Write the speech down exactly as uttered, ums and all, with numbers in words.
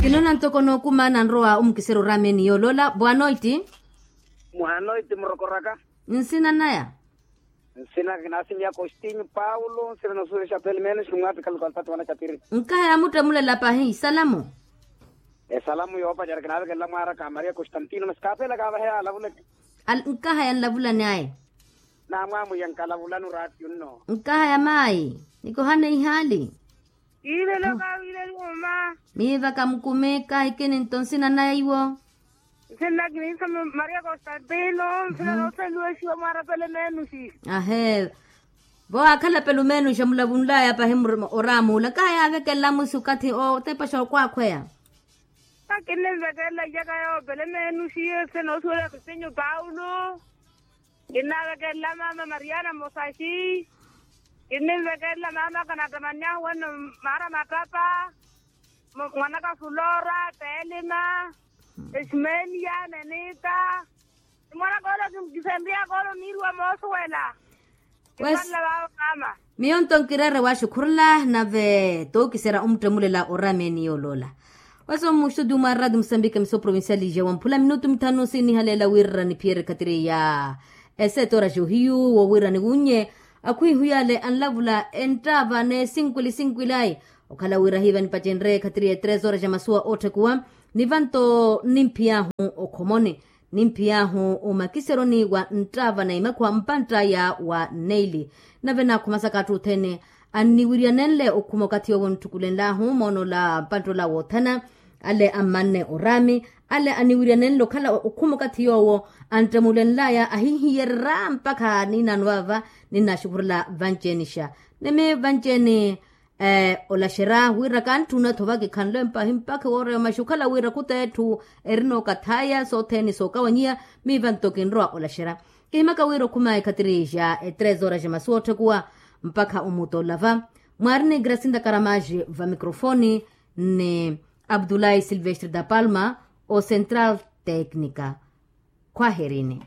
Kinoona ntoko nookuma nanrowa omukiserya oraameni yooloola boa noiti. Mwaha noiti murokoraka. Nsina naya? Nsina kinaasimiya kostinyu paulo nsina nosuwela exapeli menos kimwaapikhala kwalpati wana capiri. Nkahaya muttemulela pahi salamu. Esalamu yoopacerya kinaavekelela mwaaraka a maria kostantino masi kaapeela kaavaheya alavuleke. Nkahaya nlavulani ayi. Naamwamwiya nkalavulani oraatiyo nno. Nkahaya maayi. Nikohane ihaali. Kiivela okawiileliwa mma. Miivaka mukumi kahikini nto nsina naiwo. Nsina kiniisa maria kostantino nsina nooseliwa exiwa mwaarapele meenuxi. Ahee. Vo aakhalapela omeenuxa mulavunlaya pahi oraamula kaha yaavekelela mwisu okathi otepaxa okwaakhweya. Kakinimvekelela iyaka yoopele meenuxi nsina noosuwela kristinyu paulo. Kinnaavekelela maama mariana mosaxi. Kinnimvekelela maamaka nattamanyahu wenno maara mattapa. Mwanaka fulora telima. Esmenia nenita. Mwanaka ole kisenriyaka ole oniiriwa moosuwela. Kimpanla vaavo maama. Miyo nto nkireere waxukhurula nave tookiserya omuttemulela oraameni yooloola. Wasi omuxutu mwa radio musambika miso provincial ija wamphula minutu mithanu sinihaleela wira niphiyerye khatiri ya esetora johiyu wowira niwunnye. Akhwihu yale anlavula enttaava n'esinkwili sinkwili ayi. Okhala wira hiiva nipacenrye khatiri ya etres horas ja masuwa ootthekuwa. Nivanto nimphiy'ahu okhomoni. Nimphiy'ahu omakiseryoni wa nttaava na imakhuwa mpantt'aya wa neili. Nave naakhumasaka atthu othene anniwiryanenle okhuma okathi yoowo ntthukulenl'ahu moon'ola mpantt'ola woothana. Ale ammanne oraami ale aniwiryanenle okhala okhuma okathi yoowo anttemulenl'aya ahihiyerery'aya mpakha niinaano vaava. Ninnaaxukhurela vanci-enixa nimi vanci-eni. Olaxerya wira kantthuna-tho vakikhanle mpahi mpakha wooreya maxi okhala wira khuta etthu erina okathaya sothene sookawanyiya. Miiva nto kinrowa olaxerya kihimaka wira okhuma ekhatiri ja etres horas ja masuwa otthekuwa mpakha omuuta olava. Mwaari ni gracinda karamaji va microfoni ni abdulahi silvestre da palma o central tecnica. Khwaherini.